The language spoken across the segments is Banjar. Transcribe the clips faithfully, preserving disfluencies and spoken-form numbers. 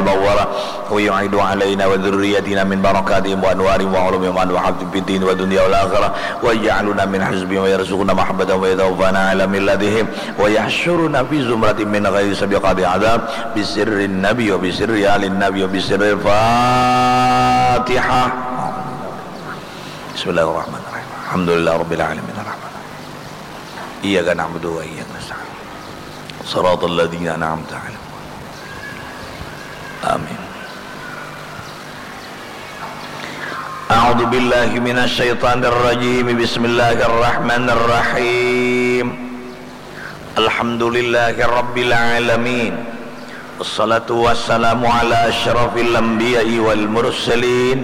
المنورة، ويعيد علينا وذرياتنا من بركاتهم وأنوارهم وعلومهم وحفظهم في الدين والدنيا والآخرة، ويجعلنا من حزبهم ويرزقنا محبتهم ويتوفانا على ملتهم، ويحشرنا في زمرة من غير سابقة عذاب، بسر النبي وبسر آل النبي وبسر الفاتحة. بسم الله الرحمن الرحيم. الحمد لله رب العالمين. الرحمن الرحيم. إياك نعبد وإياك نستعين. صراط الذين أنعمت عليهم. آمين. أعوذ بالله من الشيطان الرجيم. بسم الله الرحمن الرحيم. الحمد لله رب العالمين. والصلاة والسلام على أشرف الأنبياء والمرسلين.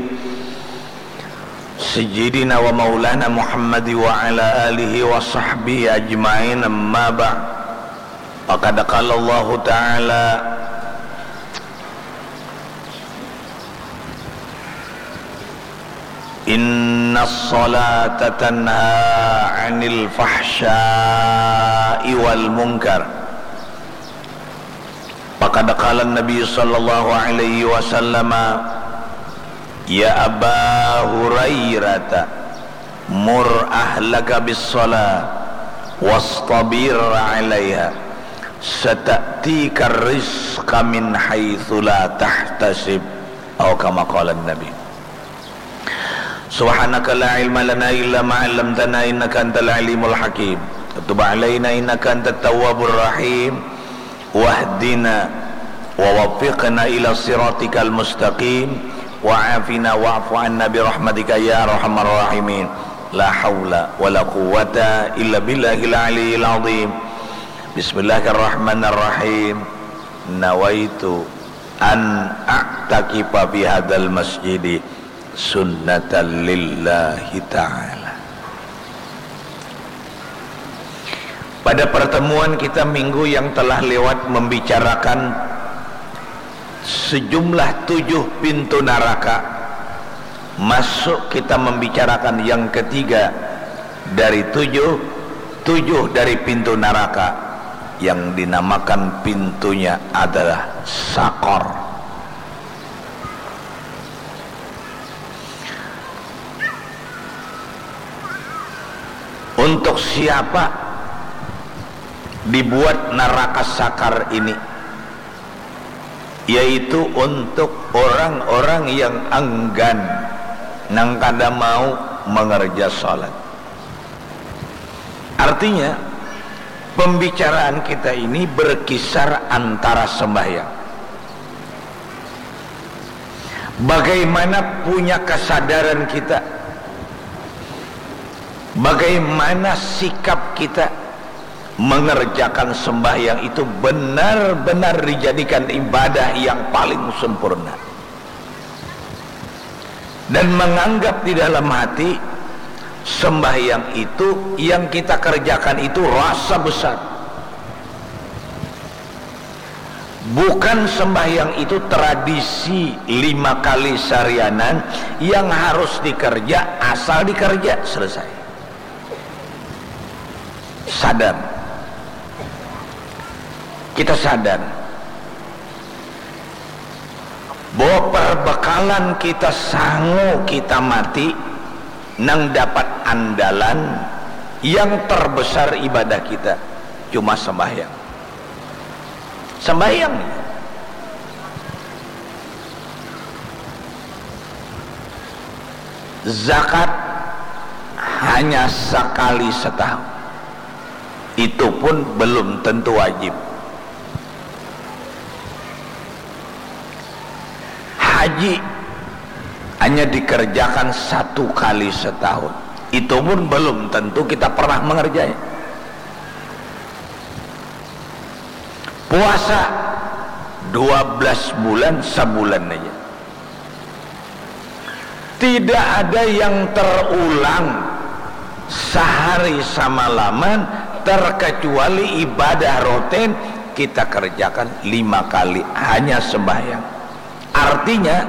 سيدنا ومولانا محمد وعلى آله وصحبه أجمعين. أما بعد. فقد قال الله تعالى: إن الصلاة تنهى عن الفحشاء والمنكر. فقد قال النبي صلى الله عليه وسلم: يا أبا هريرة، مر أهلك بالصلاة واصطبر عليها، ستأتيك الرزق من حيث لا تحتسب. أو كما قال النبي. سبحانك لا علم لنا إلا ما علمتنا إنك أنت العليم الحكيم. تب علينا إنك أنت التواب الرحيم. واهدنا ووفقنا إلى صراطك المستقيم. وعافنا واعف عنا برحمتك يا أرحم الراحمين. لا حول ولا قوة إلا بالله العلي العظيم. بسم الله الرحمن الرحيم. نويت أن أعتكف في هذا المسجد سنة لله تعالى. Pada pertemuan kita minggu yang telah lewat membicarakan sejumlah tujuh pintu neraka, masuk kita membicarakan yang ketiga dari tujuh, tujuh dari pintu neraka yang dinamakan pintunya adalah Sakor. Untuk siapa dibuat neraka Sakar ini? Yaitu untuk orang-orang yang enggan, nang kada mau mengerja salat. Artinya, pembicaraan kita ini berkisar antara sembahyang. Bagaimana punya kesadaran kita? Bagaimana sikap kita mengerjakan sembahyang itu benar-benar dijadikan ibadah yang paling sempurna? Dan menganggap di dalam hati sembahyang itu yang kita kerjakan itu rasa besar. Bukan sembahyang itu tradisi lima kali sarianan yang harus dikerja, asal dikerja, selesai. Sadar. Kita sadar bahwa perbekalan kita sangu kita mati nang dapat andalan yang terbesar ibadah kita cuma sembahyang. Sembahyang. Zakat hanya sekali setahun. Itu pun belum tentu wajib. Haji hanya dikerjakan satu kali setahun. Itu pun belum tentu kita pernah mengerjanya. Puasa dua belas bulan, sabulan aja. Tidak ada yang terulang sehari samalaman terkecuali ibadah rutin kita kerjakan lima kali, hanya sembahyang. Artinya,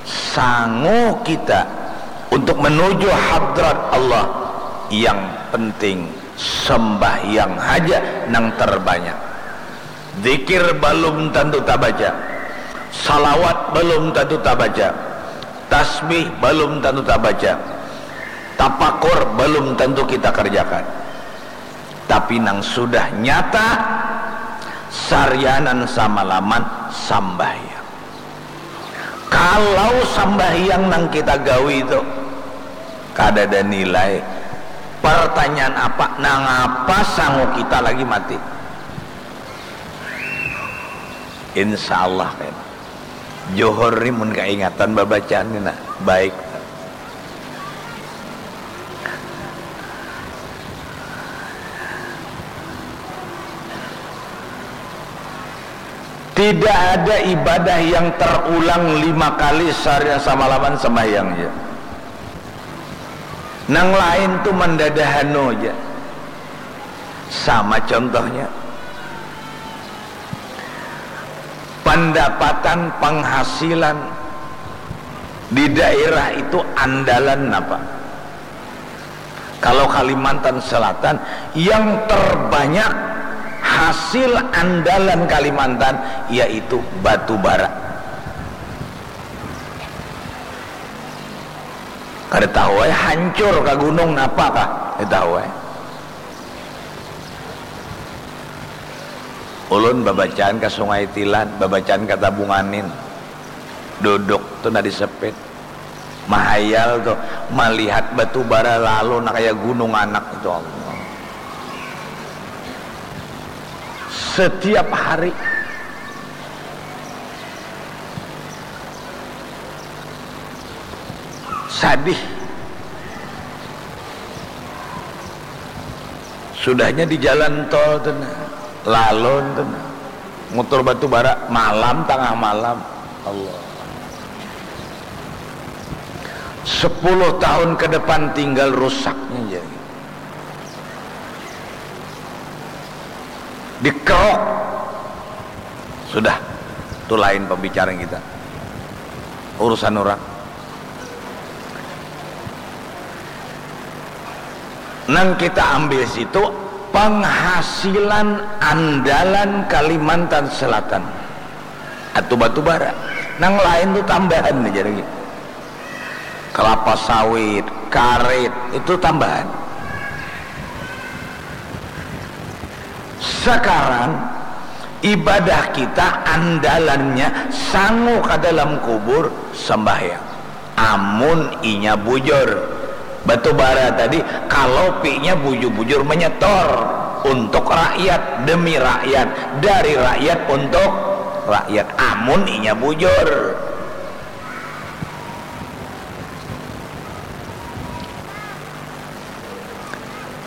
sangu kita untuk menuju hadrat Allah, yang penting sembahyang haja nang terbanyak. Zikir balum tantu tabaca. Salawat balum tantu tabaca, tasbih balum tantu tabaca, tapakur balum tantu kita karjakan. Tapi nang sudah nyata, sarianan samalaman sambahyang. Kalau sambahyang nang kita gawi tu kadada nilai, pertanyaan apa, nangapa sangu kita lagi mati? Insya Allah kan. Johor ni mun kaingatan babacaan ni nah, baik. Tidak ada ibadah yang terulang lima kali sehari samalaman sembahyang je. Nang lain tu mandadahanu aja. Sama contohnya, pendapatan penghasilan di daerah itu andalan apa? Kalau Kalimantan Selatan, yang terbanyak hasil andalan Kalimantan yaitu batu bara. Kada tahu ai, hancur ka gunung napa kah? Kada tahu ai. Ulun babacaan ka Sungai Tilan, babacaan ka Tabunganin. Duduk tu nah di sepit. Mahayal tu, malihat batu bara lalu nah kaya gunung anak itu, Allah. Setiap hari. Sadih. Sudahnya di jalan tol tu nah, lalun tu nah. Mutur batu bara, malam, tangah malam. Allah. Sepuluh tahun ke depan tinggal rusaknya jadi. Dikerok. Sudah, tu lain pembicaraan kita. Urusan orang. Nang kita ambil situ penghasilan andalan Kalimantan Selatan. Atu batu bara. Nang lain tu tambahan aja lagi. Kelapa sawit, karet, itu tambahan. Sekarang ibadah kita andalannya sangu ka dalam kubur sembahyang. Amun inya bujur. Batu bara tadi, kalau pinya bujur-bujur menyetor untuk rakyat, demi rakyat, dari rakyat untuk rakyat. Amun inya bujur.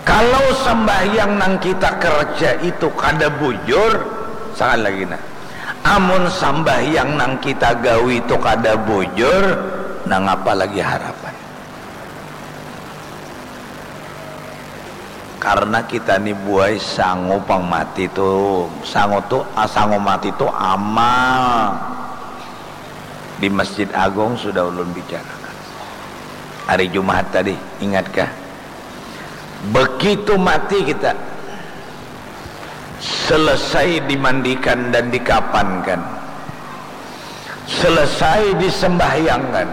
Kalau sambahyang nang kita kerja itu kada bujur, sekali lagi nah, amun sambahyang nang kita gawi itu kada bujur, nangapa lagi harapan? Karena kita ni buai sangu pang mati tu, sangu tu, ah, sangu mati tu amal. Di Masjid Agung sudah ulun bicarakan hari Jumaat tadi, ingatkah? Begitu mati kita, selesai dimandikan dan dikapankan, selesai disembahyangkan,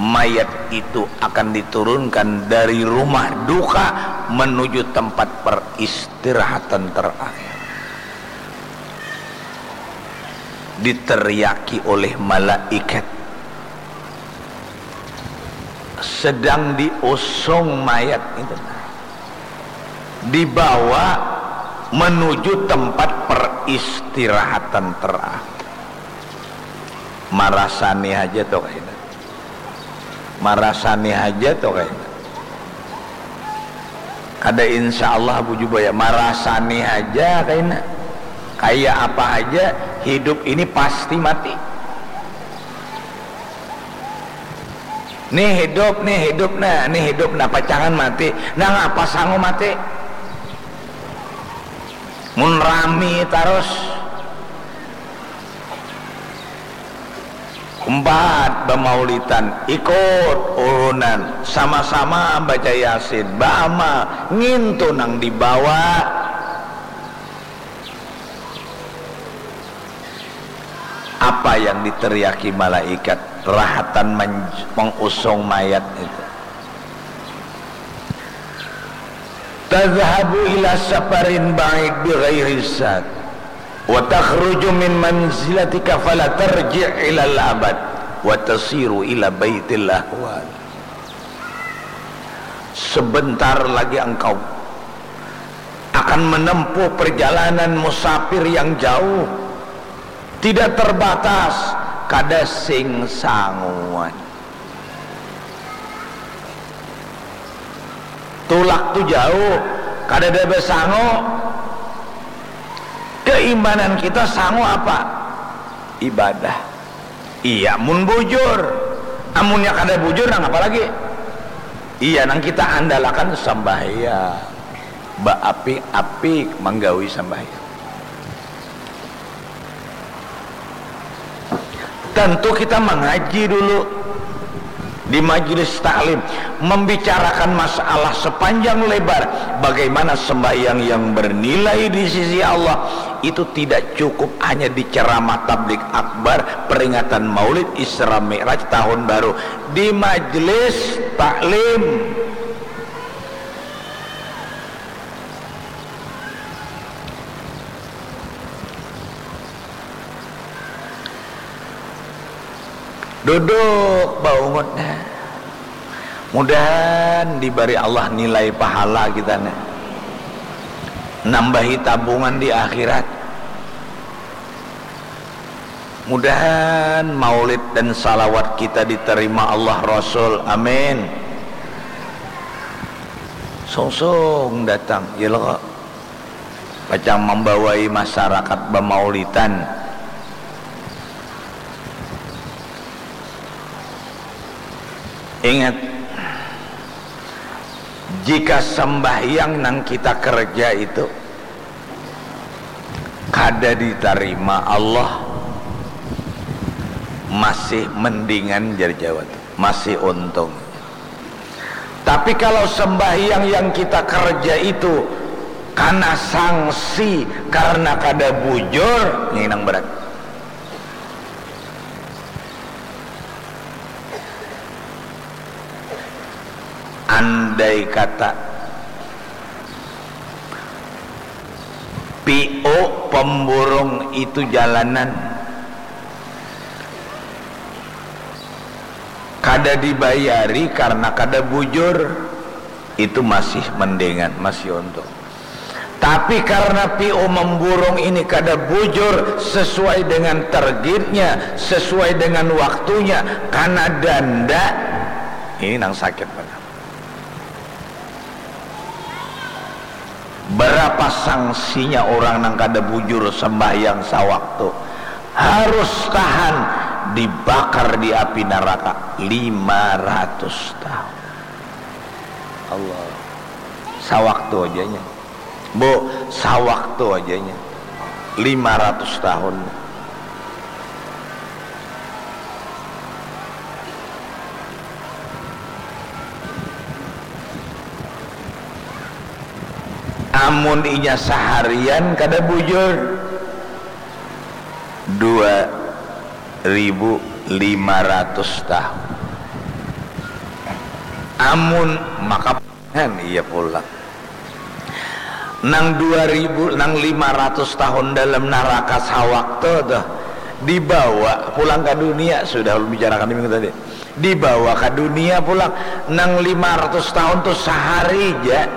mayat itu akan diturunkan dari rumah duka menuju tempat peristirahatan terakhir. Diteriaki oleh malaikat, sedang diusung mayat itu, dibawa menuju tempat peristirahatan terakhir. Marasani aja tuh kayak marasani haja tuh kayaknya. Kada insya Allah, bujur baya, marasani haja kayaknya. Kayak apa aja, hidup ini pasti mati. Nih hidup, nih hidup, nah, nih hidup, nah, pacangan mati. Nah, ngapa sangu mati? Mun rami tarus. Umpat bamaulitan, ikut urunan, sama-sama baca Yasin, baamal, ngintu nang dibawa. Apa yang diteriaki malaikat rahatan mengusung mayat itu. Tadhhabu ila safarin ba'id bighairi zad wa takhruju min manzilatika fala tarji' ilal abad wa tasiru ila baitil ahwal. Sebentar lagi engkau akan menempuh perjalanan musafir yang jauh, tidak terbatas, kada sing sanguan. Tulak tu jauh, kadada basangu. Keimanan kita sangu apa? Ibadah. Iya, mun bujur. Amunnya kada bujur, nang apa lagi? Iya, nang kita andalakan sambahyang. Baapi-api manggawi sambahyang. Tentu kita mengaji dulu di majelis taklim, membicarakan masalah sepanjang lebar, bagaimana sembahyang yang bernilai di sisi Allah. Itu tidak cukup hanya di ceramah tablik akbar, peringatan maulid, Isra Mi'raj, tahun baru, di majelis taklim. Duduk baungut nah. Mudahan dibari Allah nilai pahala kita nah. Nambahi tabungan di akhirat. Mudahan maulid dan salawat kita diterima Allah Rasul. Amin. Sungsung datang, ya lo kok. Pacang mambawai masarakat bamaulitan. Ingat, jika sambahyang nang kita kerja itu kada ditarima Allah, masih mendingan jar Jawa tu, masih untung. Tapi kalau sembahyang yang kita kerja itu kana sangsi karena kada bujur, nginang berat. Andai kata P O pemburung itu jalanan kada dibayari karena kada bujur, itu masih mendingan, masih untung. Tapi karena P O memburung ini kada bujur sesuai dengan targetnya, sesuai dengan waktunya, karena danda, ini nang sakit benar. Berapa sangsinya orang nang kada bujur sembahyang sawaktu? Harus tahan dibakar di api neraka lima ratus tahun. Allah. Sawaktu aja nya. Bu, sawaktu aja nya. Lima ratus tahun. Amun inya saharian kada bujur, dua ribu lima ratus tahun. Amun maka, kan iya pulang. Nang dua ribu, nang lima ratus tahun dalam naraka sawaktu tuh, dibawa pulang ka dunia, sudah ulun bicarakan di minggu tadi. Dibawa ka dunia pulang. Nang lima ratus tahun tuh sahari ja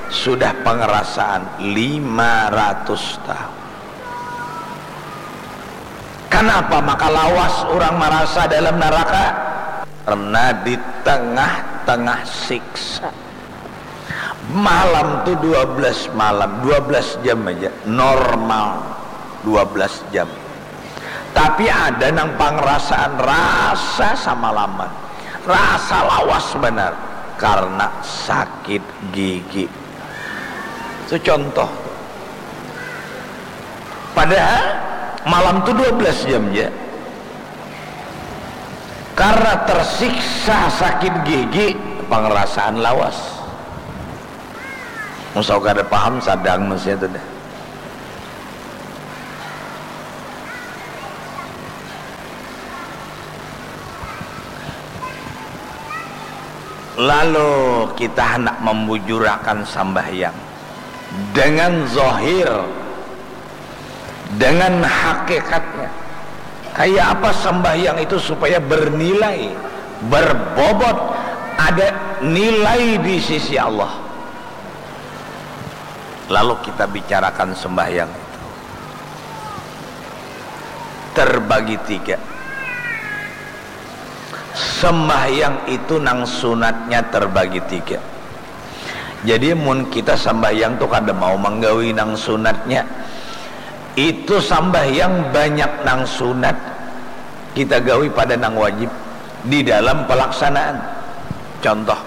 sudah pangarasaan lima ratus tahun. Kanapa maka lawas urang marasa dalam naraka? Karna di tengah-tengah siksa. Malam tu dua belas malam, dua belas jam aja, normal dua belas jam. Tapi ada nang pangrasaan rasa samalaman, rasa lawas banar karna sakit gigi. Itu contoh. Padahal malam tu dua belas jam ja. Karena tersiksa sakit gigi, pangrasaan lawas. Mun kada paham, sadang manusia tu dah. Lalu kita hendak membujurakan sambahyang dengan zahir, dengan hakikatnya. Kayak apa sambahyang itu supaya bernilai, berbobot, ada nilai di sisi Allah. Lalu kita bicarakan sembahyang itu terbagi tiga. Sembahyang itu nang sunatnya terbagi tiga. Jadi mun kita sambahyang tu kada mau manggawi nang sunatnya, itu sambahyang banyak nang sunat kita gawi pada nang wajib di dalam pelaksanaan. Contoh,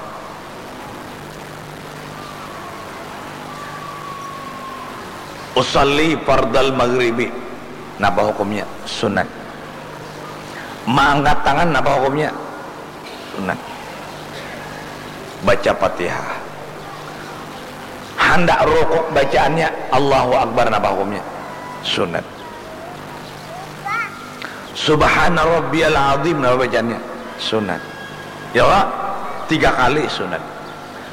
usalli fardal maghribi, napa hukumnya? Sunat. Maangkat tangan, napa hukumnya? Sunat. Baca Fatihah. Handak rukuk bacaannya Allahu Akbar, napa hukumnya? Sunat. Subhana rabbiyal azim, napa bacaannya? Sunat. Ya Allah, tiga kali sunat.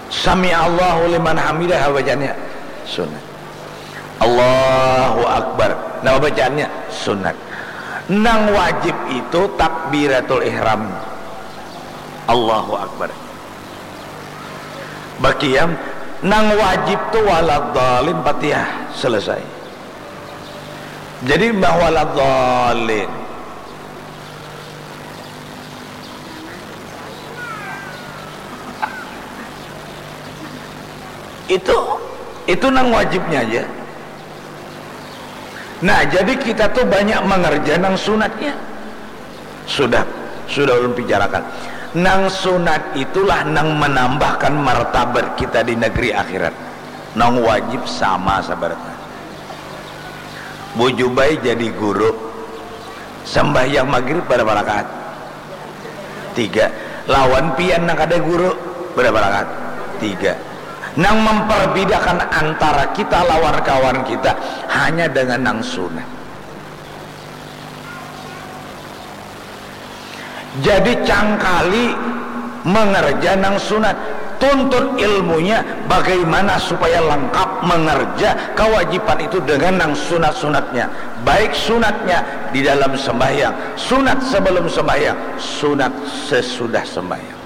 Sami Allahu liman hamidah, napa bacaannya? Sunat. Allahu Akbar, napa bacaannya? Sunat. Nang wajib itu takbiratul ihram. Allahu Akbar. Bakiam, nang wajib tu waladhalin, Fatihah, selesai. Jadi imbah waladhalin. Itu, itu nang wajibnya aja. Nah, jadi kita tuh banyak mengerja nang sunatnya. Sudah, sudah ulun bicarakan. Nang sunat itulah nang menambahkan martabat kita di negeri akhirat. Nang wajib sama sabaratnya. Bujubai jadi guru. Sambahyang maghrib berapa rakaat? Tiga. Lawan pian nang kada guru, berapa rakaat? Tiga. Nang memperbedakan antara kita lawan kawan kita hanya dengan nang sunat. Jadi cangkali mengerja nang sunat, tuntut ilmunya bagaimana supaya lengkap mengerja kewajiban itu dengan nang sunat-sunatnya, baik sunatnya di dalam sembahyang, sunat sebelum sembahyang, sunat sesudah sembahyang.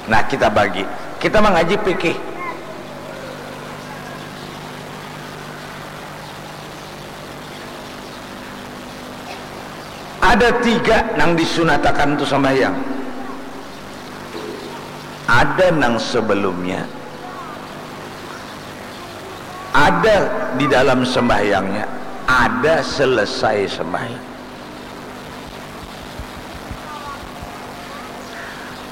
Nah, kita bagi, kita mengaji fikih. Ada tiga nang disunatakan tu sambahyang. Ada nang sebelumnya, ada di dalam sembahyangnya, ada selesai sembahyang.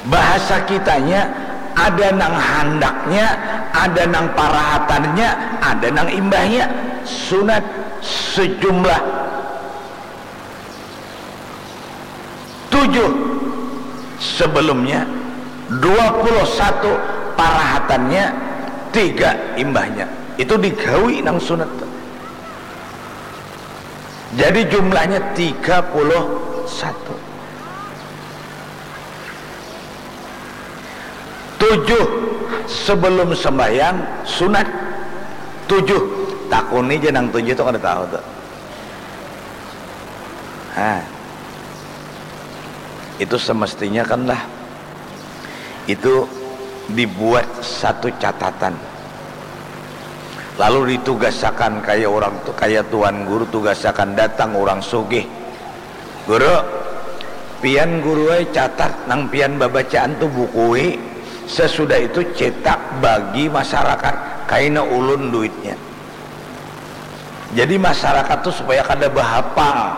Bahasa kitanya, ada nang handaknya, ada nang parahatannya, ada nang imbahnya. Sunat sejumlah tujuh sebelumnya, dua puluh satu parahatannya, tiga imbahnya. Itu digawi nang sunat tu. Jadi jumlahnya tiga puluh satu. Tujuh sebelum sembahyang sunat. Tujuh. Takuni ja nang tujuh tu kada tahu tu. Nah, itu semestinya kan lah, itu dibuat satu catatan. Lalu ditugasakan kaya orang tu, kaya tuan guru tugasakan datang orang sugih. Guru, pian guru ai catat nang pian babacaan tu bukui, sesudah itu cetak bagi masyarakat, kaina ulun duitnya. Jadi masyarakat tu supaya kada bahapal.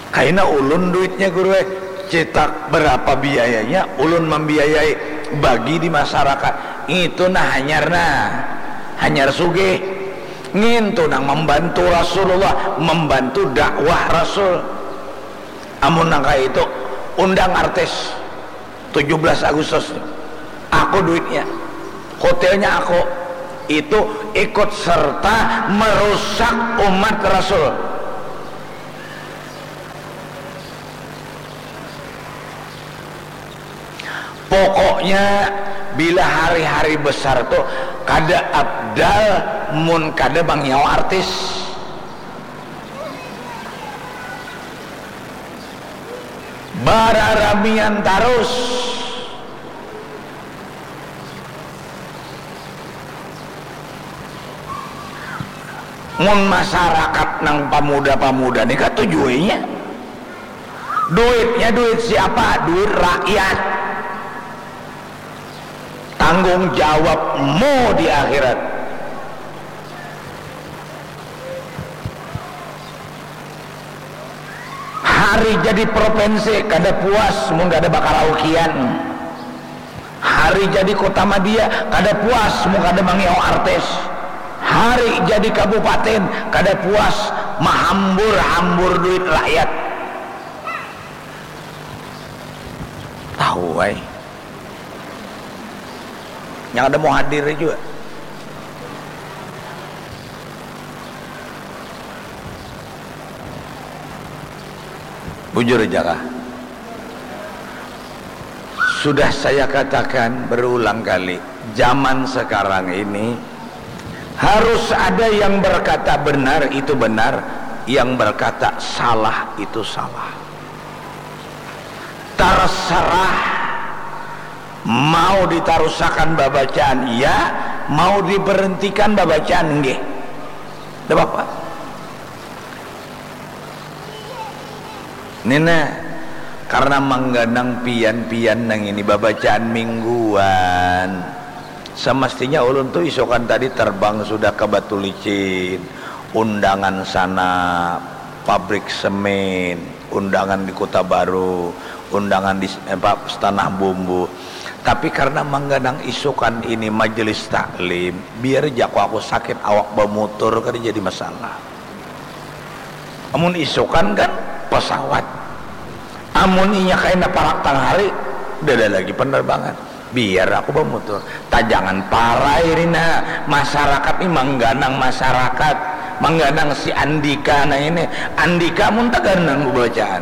Kaina ulun duitnya guru ai, cetak berapa biayanya, ulun membiayai, bagi di masyarakat. Itu nah hanyar nah, hanyar sugih. Ngintu nang membantu Rasulullah, membantu dakwah Rasul. Amun nang kaya itu, undang artis tujuh belas Agustus ni. Aku duitnya, hotelnya aku. Itu ikut serta merusak umat Rasul. Pokoknya bila hari-hari besar tu kada abdal mun kada mangiau artis. Bararamian tarus. Mun masarakat nang pamuda-pamuda ni katuju inya. Duitnya duit siapa? Duit rakyat. Tanggung jawabmu di akhirat. Hari jadi provinsi kada puas mun kada bakaraokean. Hari jadi kota madia kada puas mun kada mangiau artis. Hari jadi kabupaten kada puas mahambur-hambur duit rakyat. Tahu ai. Yang ada mau hadir juga. Bujur aja kah? Sudah saya katakan berulang kali, zaman sekarang ini harus ada yang berkata benar itu benar, yang berkata salah itu salah. Terserah mau ditarusakan babacaan iya, mau diberhentikan babacaan nggih. Ndak apa-apa. Nina, karena mangganang pian-pian nang ini babacaan mingguan. Semestinya ulun tu isokan tadi terbang sudah ke Batu Licin, undangan sana, pabrik semen, undangan di Kota Baru, undangan di apa, Tanah Bumbu. Tapi karena mangganang isukan ini majelis taklim, biar jako aku sakit awak bamutur kada jadi masalah. Amun isukan kan pesawat. Amun inya kaina parak tangahari, udah ada lagi penerbangan. Biar aku bamutur. Tajangan parai rina, masyarakat ni mangganang masyarakat, mangganang si Andika nah ini. Andika mun taganang bacaan.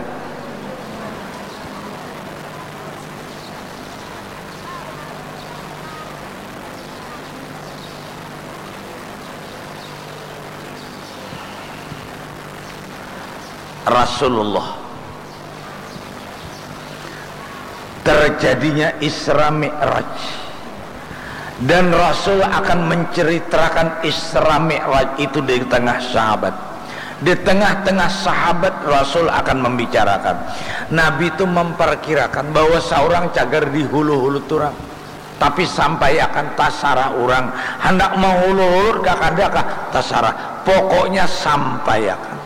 Rasulullah. Terjadinya Isra Mi'raj. Dan Rasul akan menceritakan Isra Mi'raj itu di tengah sahabat. Di tengah-tengah sahabat Rasul akan membicarakan. Nabi itu memperkirakan bahwa seorang cagar di hulu-hulu turang. Tapi sampai akan tasarah orang. Hendak menghulu-hulu kah kada kah tasarah. Pokoknya sampai akan.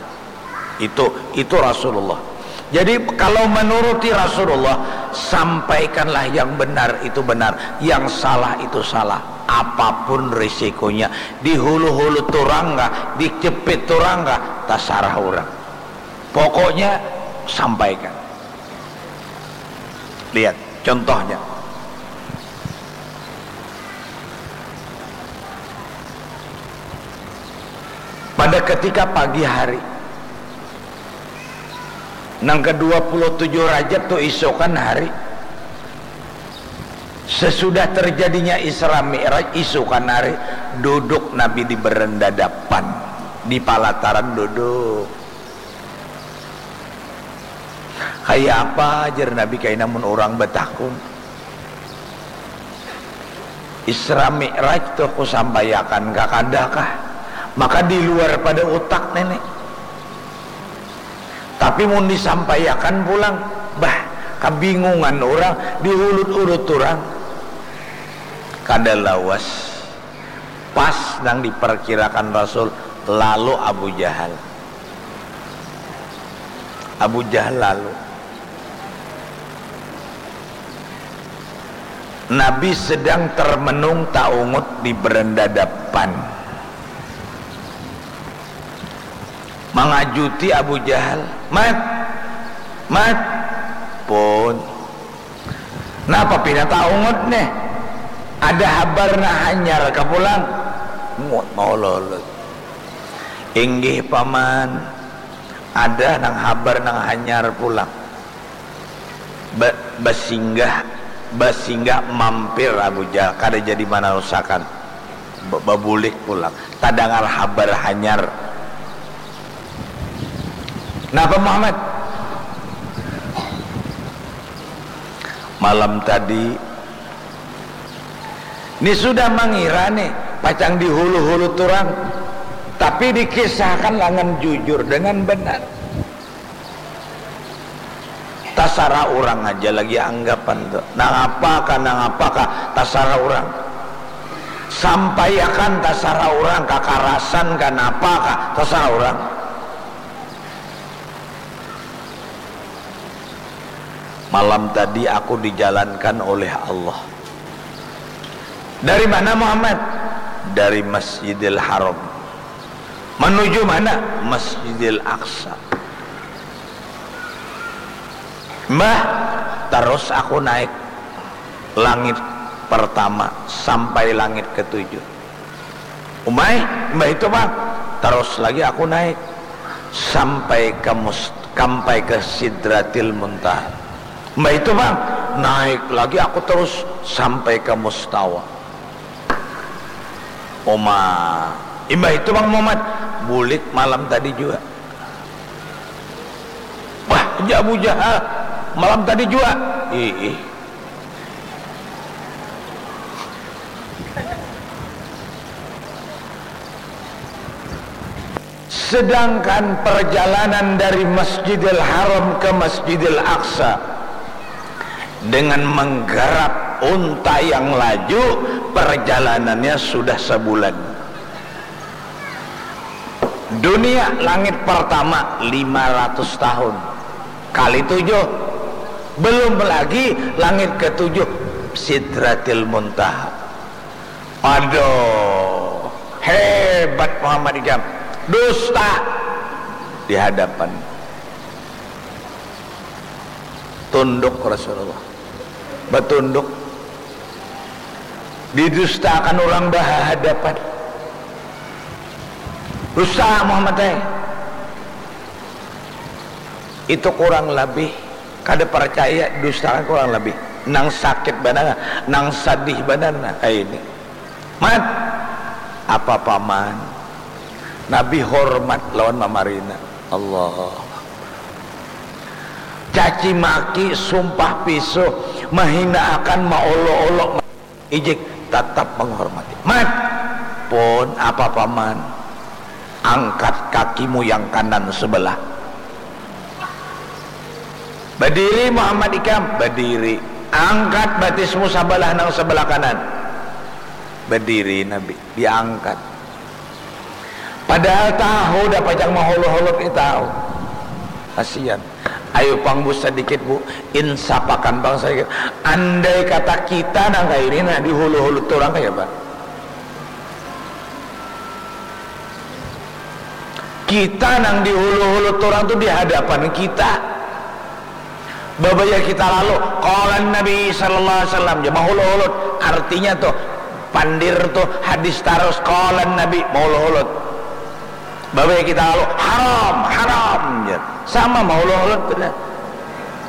Itu, itu Rasulullah. Jadi kalau menuruti Rasulullah, sampaikanlah yang benar itu benar, yang salah itu salah. Apapun risikonya, di hulu-hulu turang kah, di jepit turang kah, tasarah orang. Pokoknya sampaikan. Lihat contohnya. Pada ketika pagi hari, nang kedua puluh tujuh Rajab tu isukan hari, sesudah terjadinya Isra Mi'raj isukan hari, duduk Nabi di berendadapan, di palataran duduk. Kaya apa, jar Nabi, kaina mun urang batakun. Isra Mi'raj tuh kusampaiakan kah kada kah? Maka di luar pada utak nini. Tapi mun disampaiakan pulang, bah, kabingungan urang, diulut-ulut urang. Kada lawas. Pas nang diperkirakan Rasul, lalu Abu Jahal. Abu Jahal lalu. Nabi sedang termenung taungut di berendadapan. Mangajuti Abu Jahal, "Mat! Mat!" Pun. Napa pina taungut nih? Ada habar nah hanyar ka pulang? Ngut maulolot. Inggih paman, ada nang habar nang hanyar pulang. Ba-, basinggah Basinggah mampir Abu Jahal, kada jadi manarusakan. Ba-, babulik pulang. Tadangar habar hanyar. Napa Muhammad? Malam tadi, ni sudah mangira nih, pacang dihulu-hulu turang. Tapi dikisahkan langan jujur dengan benar. Tasarah urang aja lagi anggapan tu. Nangapa kah, nangapa kah, tasarah urang. Sampaiakan tasarah urang, kakarasan kah, napa kah, tasarah urang. Malam tadi aku dijalankan oleh Allah. Dari mana Muhammad? Dari Masjidil Haram. Menuju mana? Masjidil Aqsa. Mbah, terus aku naik langit pertama sampai langit ketujuh. Umai, mbah itu bang, terus lagi aku naik sampai ke mus-, sampai ke Sidratil Muntaha. Mbah itu bang, naik lagi aku terus sampai ke Mustawa. Uma, imbah itu Bang Muhammad, bulik malam tadi jua. Wah, ja Abu Jahal, malam tadi jua. Ih, ih. Sedangkan perjalanan dari Masjidil Haram ke Masjidil Aqsa dengan menggarap unta yang laju, perjalanannya sudah sebulan. Dunia langit pertama lima ratus tahun. Kali tujuh. Belum lagi langit ketujuh, Sidratil Muntaha. Aduh, hebat Muhammad ikam. Dusta di hadapan. Tunduk Rasulullah. Batunduk. Didustakan urang bahadapan. Dusta Muhammad ai. Itu kurang labih. Kada parcaya, dustakan kurang labih. Nang sakit banar, nang sadih banar, nah, ai ini. Mat, apa paman? Nabi hormat lawan mamarina. Allah. Caci maki, sumpah pisuh, mahinaakan, maolok-olok, ijik, tatap menghormati. Mat, pun apa paman? Angkat kakimu yang kanan sebelah. Badiri Muhammad ikam, badiri. Angkat batismu sabalah nang sabalah kanan. Badiri Nabi, diangkat. Padahal tahu dah pacang mahuluk-huluk ni tahu. Kasian. Ayu pang bu sadikit bu, insapakan pang sadikit. Andai kata kita nang kaya ini nah dihulu-hulu turang kaya apa? Kita nang dihulu-hulu turang tu di hadapan kita. Babaya kita lalu, qala Nabi sallallahu alaihi wasallam, ja mahulu-hulut. Artinya tuh, pandir tuh hadis tarus, qala Nabi, mahulu-hulut. Babaya kita lalu, haram, haram, ja. Sama mahulu-hulut tu dah.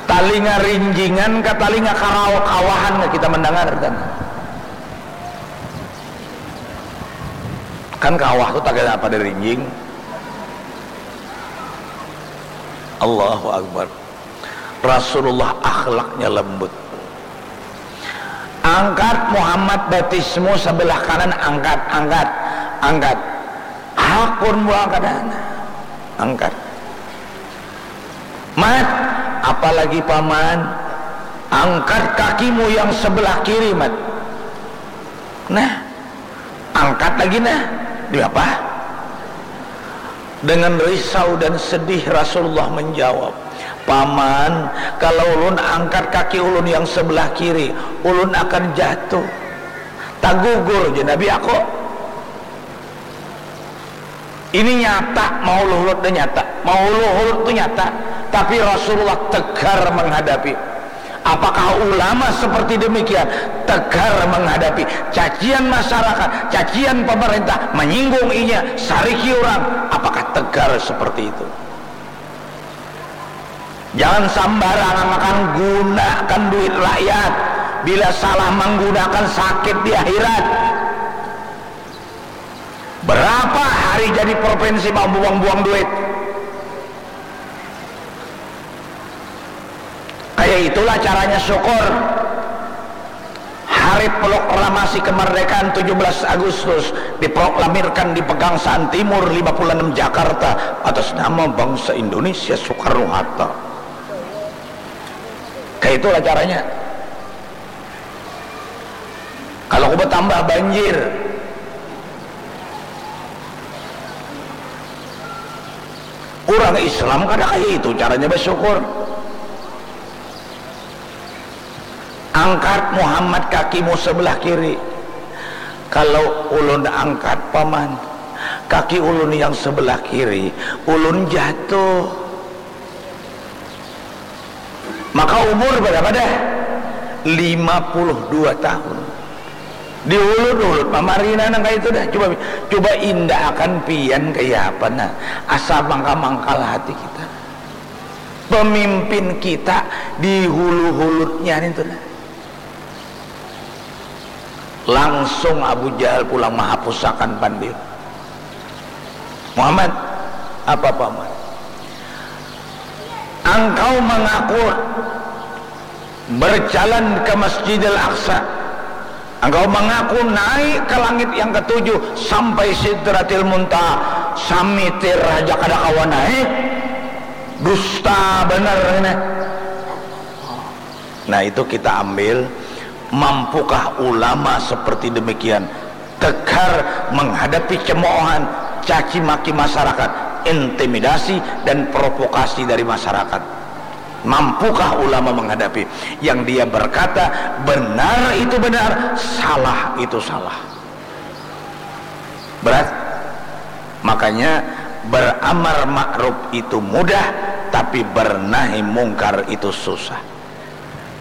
Talinga rinjingan ka talinga karau kawahan ka kita mendengar kan. Kan kawah tu tagal apa ada rinjing. Allahu Akbar. Rasulullah akhlaknya lembut. Angkat Muhammad batismu sebelah kanan, angkat, angkat, angkat. Hakun buang kanan. Angkat. Mat, apalagi paman, angkat kakimu yang sebelah kiri, Mat. Nah, angkat lagi nah. Diapa? Dengan risau dan sedih Rasulullah menjawab, paman, kalau ulun angkat kaki ulun yang sebelah kiri, ulun akan jatuh. Tagugur je Nabi aku. Ini nyata, mahulu-hulut tu nyata. Mahulu-hulut tu nyata. Tapi Rasulullah tegar menghadapi. Apakah ulama seperti demikian tegar menghadapi cacian masyarakat, cacian pemerintah, menyinggung inya, sariki orang? Apakah tegar seperti itu? Jangan sambarangan makan, gunakan duit rakyat. Bila salah manggunakan, sakit di akhirat. Berapa hari jadi provinsi mambuang-buang duit? Kaya itulah caranya syukur. Hari proklamasi kemerdekaan tujuh belas Agustus diproklamirkan di Pegangsaan Timur lima puluh enam Jakarta atas nama bangsa Indonesia Soekarno-Hatta. Kaya itulah caranya. Kalau aku bertambah banjir, urang Islam kada kaya itu caranya bersyukur. Angkat Muhammad kakimu sebelah kiri. Kalau ulun angkat, Paman, kaki ulun yang sebelah kiri, ulun jatuh. Maka umur berapa dah? Lima puluh dua tahun. Dihulut-hulut pamarina nang kaya itu dah. Coba, coba indak akan pian kaya apa nah. Asa mangkal-mangkal hati kita. Pemimpin kita dihulu-hulutnya itu dah. Langsung Abu Jahal pulang mahapusakan pandir. Muhammad, apa Paman? Engkau mengaku berjalan ke Masjidil Aqsa. Engkau mengaku naik ke langit yang ketujuh sampai Sidratil Muntaha. Samitir aja kada kawa naik. Dusta benar ini. Nah, itu kita ambil, mampukah ulama seperti demikian tegar menghadapi cemoohan, caci maki masyarakat, intimidasi dan provokasi dari masyarakat? Mampukah ulama menghadapi yang dia berkata benar itu benar, salah itu salah? Berat. Makanya beramar ma'ruf itu mudah, tapi bernahi mungkar itu susah.